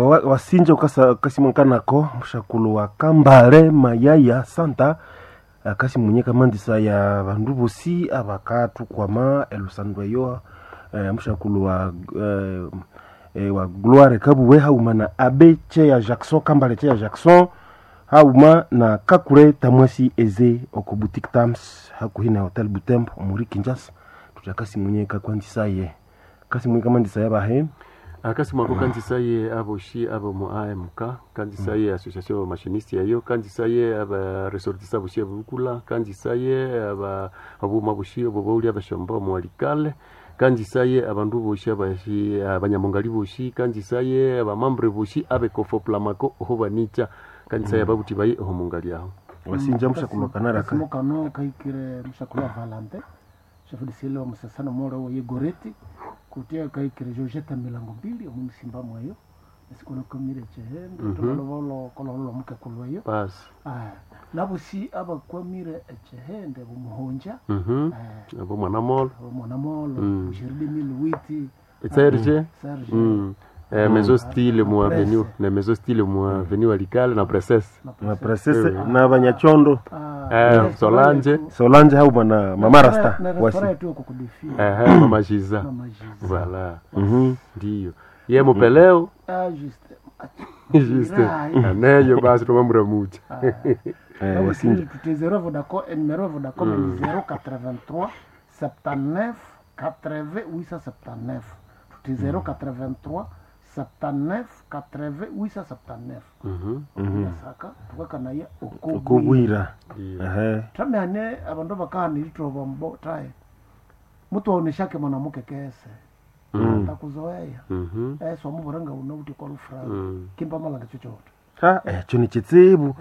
Wasinja ukasimankanako mushakulu wa Kambale Mayaya Santa, akasi mwenye kamandisa ya bandu bosi abakathukwama elusando eyo, mushakulu wa wa Gloire Kabuwe hauma na Abe Cheya Jackson, Kambale Cheya Jackson hauma na Kakule Tamwasi Eze oko Boutique Tams hakuhi na Hotel Butembo omuri Kinshasa. Tutakasi mwenye kakwandisaye kasi mwenye kamandisa yabahe. Akasi mwako kanzisaye aboshi abo mu AMK, kanzisaye association ya machiniste yayo, kanzisaye aba ressortissants boshi abukula, kanzisaye aba abuma boshi abo bauli abashomba mu alikale, kanzisaye abandu boshi abashi abanyamongali boshi, kanzisaye abamambre boshi abekofo plamako oho banicha, kanzisaye ababuti baye oho mungali aho. Wasinja mushakulu wa Kanara ka Kasimo kano kaikire mushakulu wa Valante chef de cellule wa musasano moro wa Yegoreti kutia kaikire Georgette milango mbili omusimba mwayo nesikono komire chehende tumalovolo kololo muke kulwayo. Basi. Ah, nabusi abakwamire echehende bumuhonja. Abo mwana molo. Mwana molo bushiridi miliwiti. Serge. Serge. Maison style mu avenue, na maison style mu avenue alikale na princesse. Na princesse na banyachondo. Solange. Solange hauma na Mama Rasta na wasi restaurant yetu kukudifia. Mama Jiza. Mama Jiza. Voilà. Ndiyo. Ye mupeleo. Ah, juste. Juste. Aneyo basi tumamuramucha. Wasinja Tutezero Vodacom, numéro ya Vodacom ni 083 79 80 879. Tuti 083 79 80 879. Saka tukakanaya okobwira. Okobwira. Ndiyo. Ehe. Tramehane abandu bakahana eritoba mbo tae. Mutuoneshake mwanamuke kese. Atakuzoea. Swamubura nga unauti kwa lufranga. Kimba malanga chochote. Ha, ekyo ni kitsibu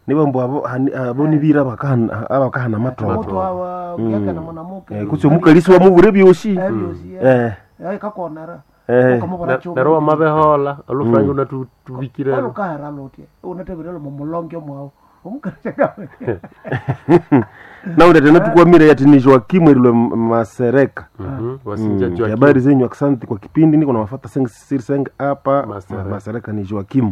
nibo mbu abo abo nibira abakahana abakahana amatobo. Mutu awa kuyaka na mwanamuke. Kutsi omukalisi wamubura ebyosi. Ebyosi. Kakonera. Ukamubura chomo. Nero wamabehola olufrangi unatubikire. Olukahera lutye. Unatebire mumulonge mwawo. Omukalisi Naule tena tukwamire yati ni Joakim erilwe Masereka. Wasinja Joakim. Habari zenyu, asante kwa kipindi, niko nawafata seng siri seng hapa Masereka. Masereka ni Joakim.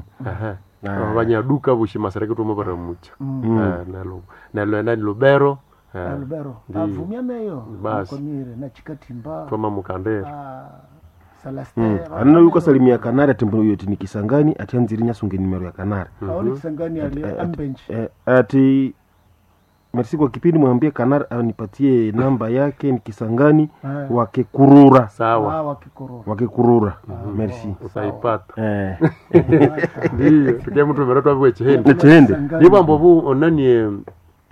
Abanyaduka bushi Masereka tumabaramucha. Nalo nalo nani Lubero. Lubero. Ndiyo. Avumia neyo. Basi. Mukomire na Chikatimba. Twama mukandera. Celestin. Anna yuko salimia Kanari ati mbu yoti ni Kisangani ati anziri nyasunge nimero ya Kanari. Aoni Kisangani ali ambench. Ati merci kwa kipindi, mwambie Kanari anipatie namba yake ni Kisangani wakekurura. Sawa. Ah, wakikorora. Wakekurura. Merci. Utaipata. Ndiyo, tukia mtu mero twabiwe chihende. Chihende. Niba mbobu onanie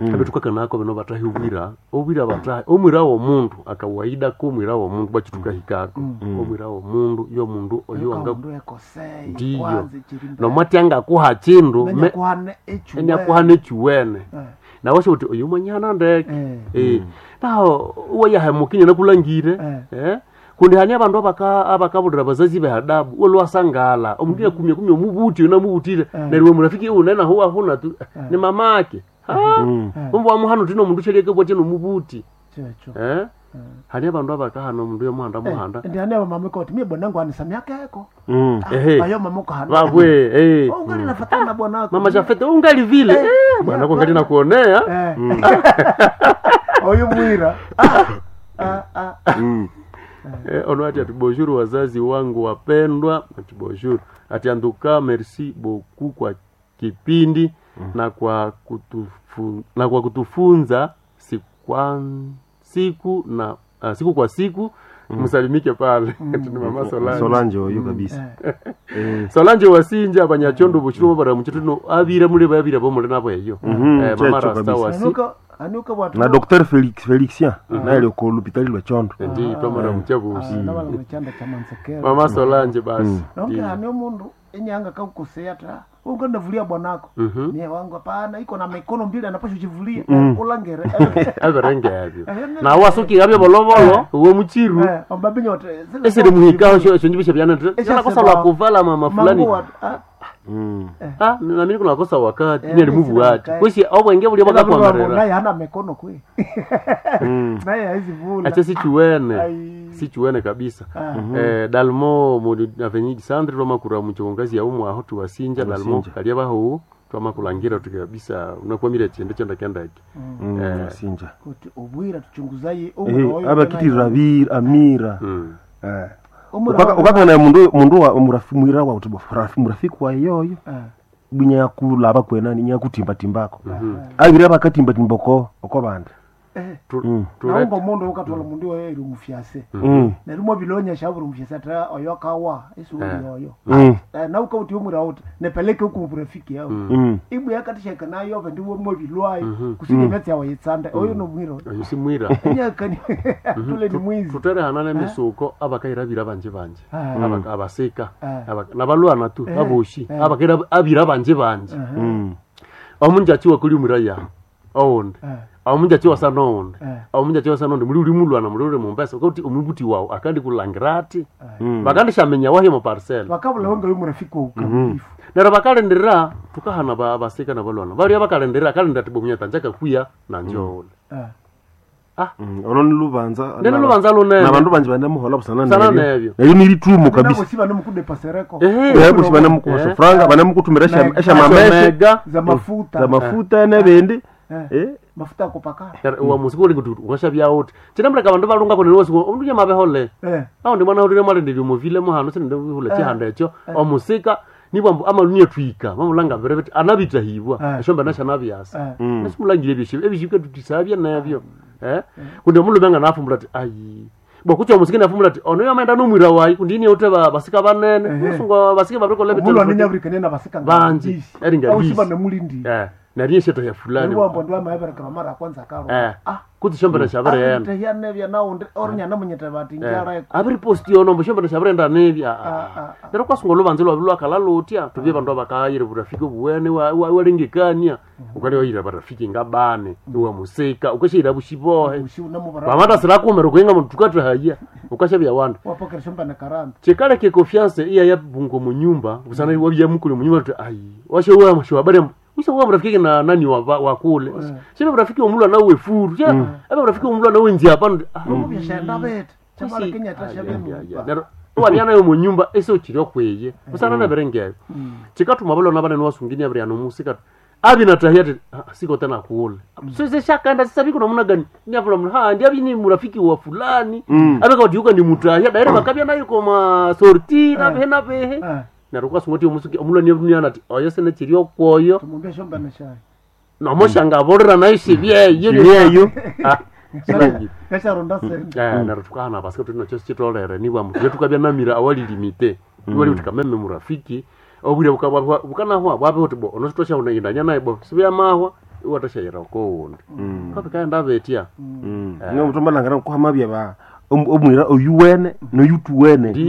abetukaka nako bino batahi obwira, obwira batahi, omwira womundu akawaida ko omwira womundu bachitukahikako. Omwira womundu yo mundu oyo wanga Omundu ekosei. ndiyo. Kwanza chirimbe. Nomwati kuha chindu Menya kuhane echuwe. enyakuhana echiwene. Nawe uti oyu mwanyana ndeke. Naho uwayahemukinya nakulangire. Kundi hani abandu abakabulira abazazi behadabu olwasangala omundu yakumya kumya omubuti unamubutire neryo we murafiki unena huwa huna tu ni mamake umbu wamuhana tino omundu shalieke bwati nomubuti. Checho. Hani abandu abakahana omundu yomuhanda muhanda. Ndi ane mama koti mie bwanangu anisamiaka eko. Ehe. Ayo mama kahana. Babwe Oh, ungali nafatana na bwanako. Mama Jafete ungali vile bwana ko ngali nakuonea. Oyo mwira. Ono ati ati bonjour wazazi wangu wapendwa, ati bonjour, ati anduka merci beaucoup kwa kipindi na kwa na kwa kutufunza siku na siku kwa siku. Msalimike pale. Ati ni mama Solange. Solange oyo kabisa. Solange wasinja abanyachondo bushiro bara muchituno abira mule babira bomule nabo eyo. Mama Checho Rasta kabisa. wasi. Anuka anuka watu. Na Dr. Felix Felixien naye ko l'hôpital lwa Chondo. Ndi twamara muchabusi. Nabala muchanda cha Mansekero. Mama Solange basi. Nonke hani omundu enyanga kakukosea ta unga ndavulia bwanako. Mie wangu hapana iko na mikono mbili anapasha uchivulia. Kulangere. Aberenge abyo nawe wasuki abyo bolovolo uwe muchiru. Ombabinyo Esiri muhikaho shonjibisha byana yanakosa lwa kuvala mama fulani. Ah, nami niko nakosa wakati Eh, neri sina mubu ati wakati. kwesi obwenge buli bwakakwamerera Naye hana mikono kwe. Naye haizi vula. ache sichiwene Ai. sichiwene kabisa Ah. dalmo mu avenue centre twamakura muchongazi ya umwe aho tuwasinja dalmo Tuwasinja. kalia bahu twamakulangira tuti kabisa unakwamira chendo chenda kendaki Sinja. Kuti obwira tuchunguzaye omura oyo. Abakitirira abira amira. mm. Eh. Omura Ukakana mundu mundu wa murafi mwira wa uti murafiki wa yoyo. Ah. Bunya kulaba kwena ni nyakutimba timbako. Abira bakatimba timboko oko bandi. Eh. Tu- Naunga omundu ukatwala omundu oyo eri omufyase. Neryo mwabilonya shaburi omufyase ata oyo akawa isuuli oyo. Nauka uti omwira uti nepeleke huku murafiki yao. Ibwe yakatishaka nayo ove ndiwo mwabilwayo kusudi emyatsi yawe yitsande oyo nomwira oyo. oyo simwira Enyakani tule ni mwizi. tuterehana nemisuko abakairabira banje banje Ah. Abasika Ah. nabalwana tu aboshi abakaira abira banje banje omunjachi wakuli umuraya oundi Eh. omunjachi wasa noundi Eh. omunjachi wasa noundi muli uli mulwana muli uli mumbesa ukauti omubuti wawu akandi kulangira ati bakandishamenya wahi mu parcel Bakabula wenga uyu murafiki wa ukamilifu. neryo bakalindirira tukahana abasika nabalwana balia bakalindirira akalindira ati bomunyata njakakuya nanje oundi Eh. Ono ni lubanza. Nene lubanza lunene. Na bandu banje banemuhola busana Busana nebyo. Neryo nilitumo kabisa. Nabo si banomukudepasereko. Ehe. Yebo sibanemukuhosa Eh. franga banemukutumira Na- eshamameshe Omega za mafuta. za mafuta nebindi. Eh. Eh. Mafuta ya kupakala. wa musiko uli kuti ukashabya uti chinamuleka bandu balungako neniwasiku omundu nyamabehole Eh. awo ndi mwana ulire mwalindilya omuvile muhano sinende hula chihanda ekyo omusika nibwambu amalunie twika mamulanga bere biti anabitahibwa Eh. eshombe nashanabyasa Eh. nasimulangire ebyeshibi ebishibika tutisabya nebyo eh kundi omulume nga nafumbula ati ayi bwakucha omusika nafumbula ati ono yamaenda nomwira wayi kundi ini ute basika banene Ehe. musungu basika babirikola Omulwa ninyabirikania nabasika nga Banji. bisi. Eri nga Au si bisi. banemulindi. eh nariye sheta ya fulani Niwambo ndi amahebereka mara ya kwanza karo. eh Ah. kuti shombe nashabareyena Abiritahia naundi orinyana munyete bati njareko. abiri posti yono mbo shombera shabarenda nebya Ah, ah, nero kwasunga olubanza lwabi lwakala lutya tubye bandu abakayire burafiki obuwene walengekania ukali wayira barafiki ngabane iwamusika ukashayira bushibohe Ushi unamubara. pamata kumera kuyenga mundu tukatahaya ukashabya wandu Wapokera shomba na karanda. chikale ke confiance iya ya bungo munyumba busana wabya mukule munyumba tu ayi washe wa masho habari usha wa mrafiki na nani wa wa kule sio mrafiki omulwa na uwe furu sio aba mrafiki omulwa na wenzi hapa ah Omubyashenda bete. Chabala Kenya tashabe mu. wabya nayo munyumba ese ukiri okweye busana naberengeyo chikatuma balona banene wasungini abiri ano musika abi natahia ati "Ah, siko tena kuule sese shakanda sasa biko namna gani nyafula mna ha ndi abi ni murafiki wa fulani abe kawatiuka ni mutahia daire bakabya nayo koma sorti na behe na behe Eh. naruka sungoti omusuki omulwa ni dunia ati oyo sene chiri okwoyo Tumumbia shomba na shai. nomoshanga aborera nayo shibyeyo Yeyo. Ah, sibangi. Kasharonda sente. Neryo tukahana basika tuti nakyo sichitolere nibwa mutule tukabya namira awalilimite iwali uti kameme murafiki obwire bukanahwa bwabe uti bo ono sitwashaunayindanya naye bo sibyamahwa iwatashayira okowundi kabikaenda betya Nga mutomba langana kuhama bya ba omwira oyuwene noyutuwene. Ndiyo.